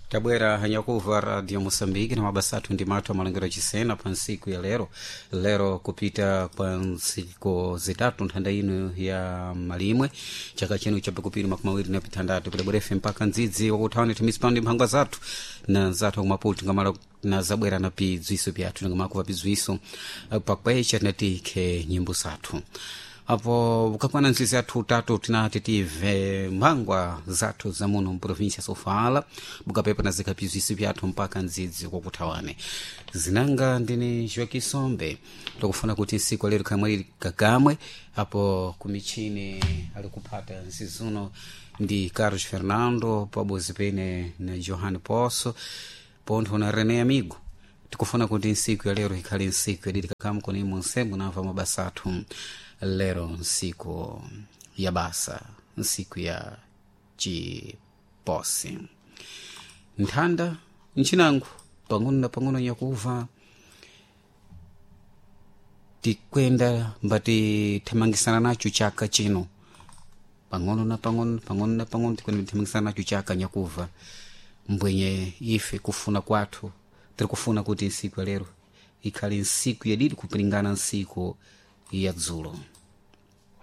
Tabwera hanyakuva Radio Moçambique na mabasa athu ndi mathu amalengero chisena pa ntsiku ya lero. Lero kupita kwa ntsiku zitatu nthanda ino ya malimwe chaka chino cha pakupiri 26, kudabwerefe mpaka ndzidzi wakuthawa timisipano ndi mphangwa zathu na zathu akumaputi ngamala na zabwera na pidzwiso pyathu nangamakuva pidzwiso pakwecha tinatike nyimbo zathu apo ukakwana nzizi athu tatu tinati tive mphangwa zathu za muno mprovinsia Sofala bukapepa na zikapizwisi pyathu mpaka ndzidzi kwakuthawane. Zinanga ndini Joaquim tikufuna kuti nsiku alero khamwe kakamwe apo kumichini alikuphata nzizuno ndi Carlos Fernando pabozi pene na Johan Poço pontho na René Amigo. Tikufuna kuti nsiku ya lero ikhale nsiku yadidi kakamwe kuni munsembo namva mabasa athu lero nsiku ya basa, nsiku ya chiposi nthanda nchinango pang'ono na pang'ono nyakuva tikwenda mbati thamangisana nacho chaka chino pang'ono na pang'ono, pang'ono na pang'ono tikwenda thamangisana nacho chaka nyakuva mbwenye ife kufuna kwathu tiri kufuna kuti nsiku ya lero ikhale nsiku yadidi kupilingana nsiku ya dzulo.